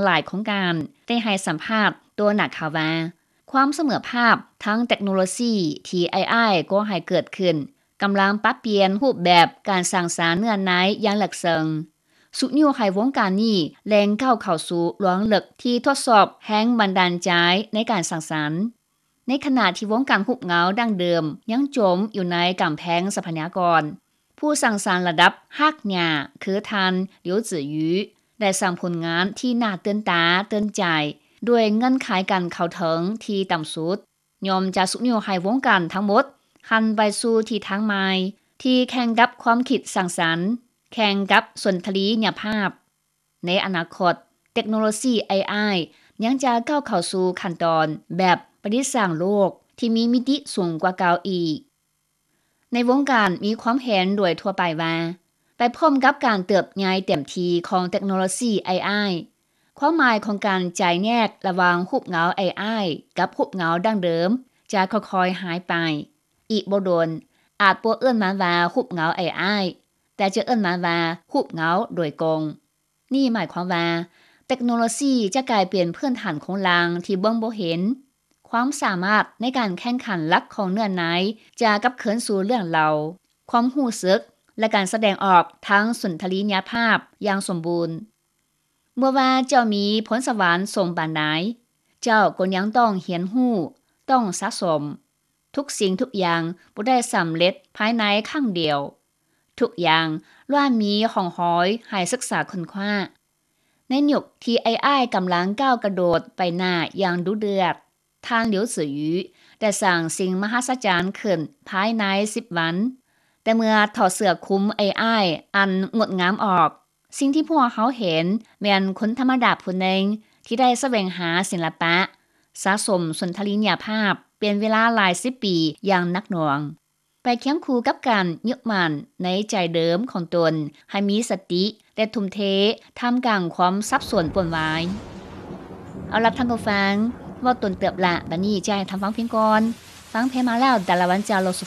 ຫຼາຍໂຄງການໄດ້ໃຫ້ສຳພາດຕໍ່ນັກຂ່າວວ່າ ຄວາມສະເໝີພາບທາງເຕັກໂນໂລຊີທີ່ ເອໄອ ກໍ່ໃຫ້ເກີດຂຶ້ນ ກຳລັງປັບປ່ຽນຮູບແບບການສ້າງສານເນື້ອໃນຢ່າງເລິກເຊິ່ງ, ຊຸກຍູ້ໃຫ້ວົງການນີ້ແລ່ນກ້າວເຂົ້າສູ່ລວງເລິກທີ່ທົດສອບແຮງບັນດານໃຈໃນການສ້າງສານ. ໃນຂະນະທີ່ວົງການຮູບເງົາດັ້ງເດີມຍັງຈົມຢູ່ໃນກຳແພງຊັບພະຍາກອນ, ຜູ້ສ້າງສານລະດັບຮາກຫຍ້າຄືທ່ານ ຫຼຽວ ຈືອ ຢູ່ ໄດ້ສ້າງຜົນງານທີ່ໜ້າຕື່ນຕາຕື່ນໃຈ ດ້ວຍເງື່ອນໄຂການເຂົ້າເຖິງທີ່ຕ່ຳສຸດ. ຍ່ອມຈະຊຸກຍູ້ໃຫ້ວົງການທັງໝົດຫັນໄປສູ່ທິດທາງໃໝ່ ທີ່ແຂ່ງກັບຄວາມຄິດສ້າງສັນ, ແຂ່ງກັບສົນທະລີຍະພາບ. ໃນອະນາຄົດ, ເຕັກໂນໂລຊີ ເອໄອ ຍັງຈະກ້າວເຂົ້າສູ່ຂັ້ນຕອນແບບປະດິດສ້າງໂລກທີ່ມີມິຕິສູງກວ່າເກົ່າອີກ. ໃນວົງການມີຄວາມເຫັນໂດຍທົ່ວໄປວ່າ, ໄປພ້ອມກັບການເຕີບໃຫຍ່ເຕັມທີ່ຂອງເຕັກໂນໂລຊີ ເອໄອ, ຄວາມໝາຍຂອງການຈຳແນກລະຫວ່າງຮູບເງົາ ເອໄອ ກັບຮູບເງົາດັ້ງເດີມຈະຄ່ອຍໆຫາຍໄປ. ອີກບໍ່ດົນ, ອາດບໍ່ເອີ້ນມັນວ່າຮູບເງົາ ເອໄອ, ແຕ່ຈະເອີ້ນມັນວ່າຮູບເງົາໂດຍກົງ. ນີ້ໝາຍຄວາມວ່າ ເຕັກໂນໂລຊີຈະກາຍເປັນພື້ນຖານໂຄງລ່າງທີ່ເບິ່ງບໍ່ເຫັນ. ຄວາມສາມາດໃນການແຂ່ງຂັນຫຼັກຂອງເນື້ອໃນຈະກັບຄືນສູ່ເລື່ອງເລົ່າ, ຄວາມຮູ້ສຶກ ແລະ ການສະແດງອອກທາງສຸນທະລີຍະພາບຢ່າງສົມບູນ. ບໍ່ວ່າເຈົ້າມີພົນສະຫວັນສູງປານໃດ, ເຈົ້າກໍຍັງຕ້ອງຮຽນຮູ້, ຕ້ອງສະສົມ. ທຸກສິ່ງທຸກຢ່າງບໍ່ໄດ້ສຳເລັດພາຍໃນຄັ້ງດຽວ. ທຸກຢ່າງລ້ວນມີຮ່ອງຮອຍໃຫ້ສຶກສາຄົ້ນຄວ້າ. ໃນຍຸກທີ່ ເອໄອ ກຳລັງກ້າວກະໂດດໄປໜ້າຢ່າງດຸເດືອດ, ທ່ານ ຫຼຽວ ຈືອ ຢູ່ ໄດ້ສ້າງສິ່ງມະຫັດສະຈັນຂຶ້ນພາຍໃນສິບວັນ. ແຕ່ເມື່ອຖອດເສື້ອຄຸມ ເອໄອ ອັນງົດງາມອອກ, ສິ່ງທີ່ພວກເຮົາເຫັນແມ່ນຄົນທຳມະດາຜູ້ໜຶ່ງທີ່ໄດ້ສະແຫວງຫາສິລະປະ, ສະສົມສົນທະລີຍະພາບເປັນເວລາຫຼາຍສິບປີຢ່າງໜັກໜ່ວງ, ໄປຄຽງຄູ່ກັບການຍຶດໝັ້ນໃນໃຈເດີມຂອງຕົນໃຫ້ມີສະຕິ ແລະ ທຸ່ມເທທ່າມກາງຄວາມສັບສົນວຸ່ນວາຍ. ເອົາລະທ່ານຜູ້ຟັງ, ເວົ້າດົນເຕີບລະ, ບັດນີ້ຈະໃຫ້ທ່ານຟັງເພງກ່ອນ. ຟັງເພງມາແລ້ວ, ດາລາວັນຈາໂລສຸ